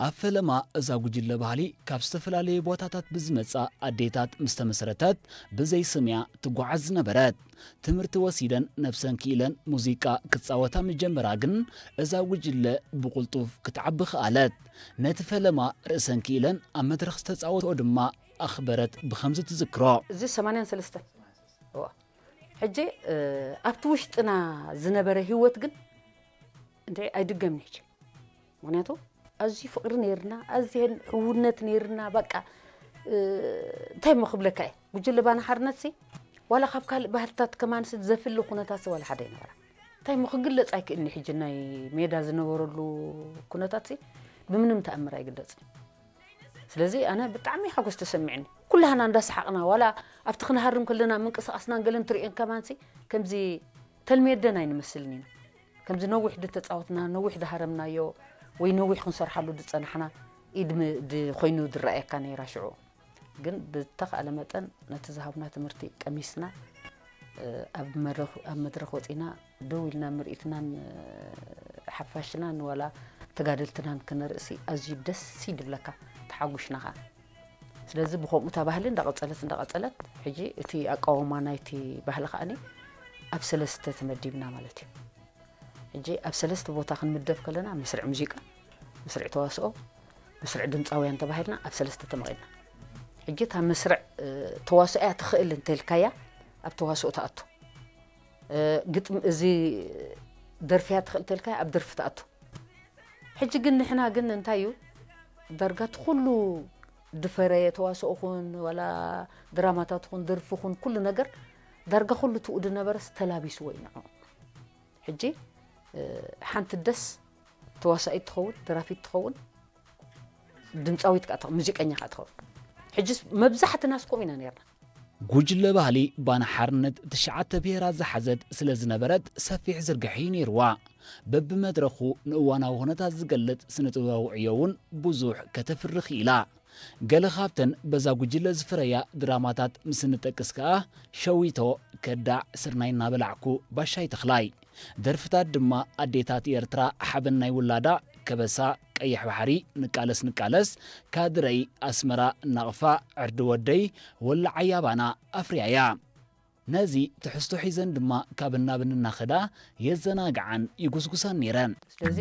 ኣብ ፈለማ እዛ ጉጅለ ባህሊ ካብ ዝተፈላለዩ ቦታታት ብዝመጻ ኣዴታት ምስ ተመስረተት ብዘይ ስም እያ ትጓዓዝ ዝነበረት። ትምህርቲ ወሲደን ነብሰን ክኢለን ሙዚቃ ክጻወታ ምጀመራ ግን እዛ ጉጅለ ብቕልጡፍ ክትዓቢ ክኣለት። ነቲ ፈለማ ርእሰን ክኢለን ኣብ መድረኽ ዝተጻወትኦ ድማ ኣኽበረት ብኸምዚ ትዝክሮ። እዚ ሰማንያን ሰለስተን። እዋ። ሕጂ ኣብቲ ውሽጥና ዝነበረ ህይወት ግን እንታይ ኣይድገምን ሕጂ። ምክንያቱ ኣዝዩ ፍቅሪ ነይርና፣ ኣዝየን ሕውነት ነይርና። በቃ እንታይ ሞ ክብለካ እየ፣ ጉጅለ ባና ሓርነት ሲ ዋላ ካብ ካልእ ባህልታት ከማን ሲ ዘፍሊ ኩነታት ሲ ዋላ ሓደ ይነበራ። እንታይ ሞ ክግለጽ ኣይክእልኒ። ሕጂ ናይ ሜዳ ዝነበረሉ ኩነታት ሲ ብምንም ተኣምር ኣይግለጽን። ስለዚ ኣነ ብጣዕሚ ሓጎስ ተሰሚዕኒ። ኩላህና እንዳሰሓቕና ዋላ ኣብቲ ክንሃርም ከለና ምንቅስቃስና ገለን ትርእየን ከማን ሲ ከምዚ ተልሜደን ኣይንመስልን ኢና። ከምዚ ነዊሕ ድተጻወትና፣ ነዊሕ ድሃረምናዮ ወይ ነዊሕ ክንሰርሓሉ ድጸናሕና ኢድ ም- ድ- ኮይኑ ድረኣየካ ነይራ ሽዑ። ግን ብተኻእለ መጠን ነቲ ዝሃብና ትምህርቲ ቀሚስና ኣብ መድረኽ ወፂና ደው ኢልና ምርኢትናን ሓፋሽናን ዋላ ተጋደልትናን ክነርእሲ ኣዝዩ ደስ ይድብለካ፣ ተሓጉሽና ከዓ። ስለዚ ብከምኡ እታ ባህሊ እንዳቐፀለት እንዳቐፀለት ሕጂ እቲ ኣቃውማ ናይቲ ባህሊ ከዓኒ ኣብ ሰለስተ ተመዲብና ማለት እዩ። ሕጂ ኣብ ሰለስተ ቦታ ክንምደብ ከለና መስርዕ ሙዚቃ፣ መስርዕ ተዋስኦ፣ መስርዕ ድምፃውያን ተባሂልና ኣብ ሰለስተ ተመቒልና። ሕጂ እታ መስርዕ ተዋስኦ እያ ትኽእል እንተልካያ ኣብ ተዋስኦ ትኣቱ። ግጥም እዚ ደርፊያ ትኽእል እንተልካያ ኣብ ደርፊ ትኣቱ። ሕጂ ግን ንሕና ግን እንታይ እዩ ዳርጋ እቲ ኩሉ ድፈረየ ተዋስኦ ኹን ዋላ ድራማታት ኹን ደርፊ ኹን ኩሉ ነገር ዳርጋ ኩሉ ትኡ ድነበረስ ተላቢስዎ እዩ ንዑ። ሕጂ ሓንቲ ደስ ተዋሳኢት ትኸውን፣ ደራፊት ትኸውን፣ ድምፃዊት ከዓ ትኸውን፣ ሙዚቀኛ ከዓ ትኸውን። ሕጂ መብዛሕትናስ ከምኡ ኢና ነርና። ጉጅለ ባህሊ ባና ሓርነት ትሽዓተ ብሄራት ዝሓዘት ስለ ዝነበረት ሰፊሕ ዝርግሐ እዩ ነይርዋ። በብመድረኹ ንእዋናዊ ኩነታት ዝገልጽ ስነ ጥበባዊ ዕዮ እውን ብዙሕ ከተፍሪ ክኢላ። ገለ ካብተን በዛ ጉጅለ ዝፍረያ ድራማታት ምስ እንጠቅስ ከኣ ሸዊቶ፣ ከዳዕ፣ ስርናይ እናበላዕኩ፣ ባሻይ ተኽላይ። ደርፍታት ድማ ኣዴታት ኤርትራ ሓበን ናይ ውላዳ፣ ከበሳ፣ ቀይሕ ባሕሪ፣ ንቃለስ ንቃለስ፣ ካድረይ፣ ኣስመራ፣ ናቕፋ፣ ዕርዲ ወደይ፣ ወላዓያ ባና ኣፍርያያ። ነዚ ትሕዝቶ ሒዘን ድማ ካብ እናብን እናኸዳ የዘናግዓን ይጉስጉሳን ነይረን። ስለዚ